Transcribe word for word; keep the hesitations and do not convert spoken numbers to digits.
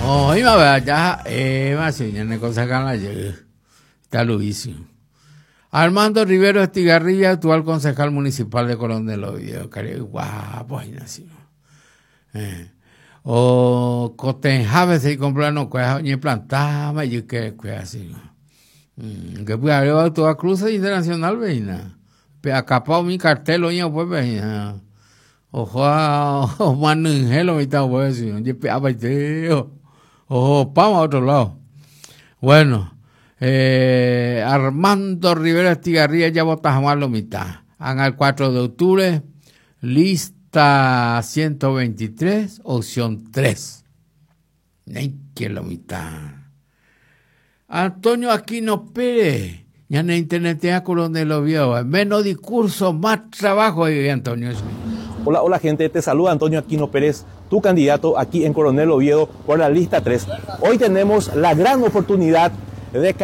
Oĩva ya ha'éva che ñane concejal está Luis. Armando Rivero Estigarribia, actual concejal municipal de Coronel Oviedo. Guapo, así. Eh. O Cotenjave se comprano cueja ni plantaba y que así. Mm, que puede haber toda cruce internacional veina. Pe acapao mi cartel oña pues veina. Ojo a manungelo mi ta pues sí. Ye apaiteo. Ojo, vamos a otro lado. Bueno, eh, Armando Rivera Estigarribia ya bota lo mitad. Hagan el cuatro de octubre, lista ciento veintitrés, opción tres. Que lo mitad. Antonio Aquino Pérez, ya en internet ya Coronel Oviedo. Menos discurso, más trabajo, Antonio. Hola, hola gente, te saluda Antonio Aquino Pérez, tu candidato aquí en Coronel Oviedo por la lista tres. Hoy tenemos la gran oportunidad de cambiar.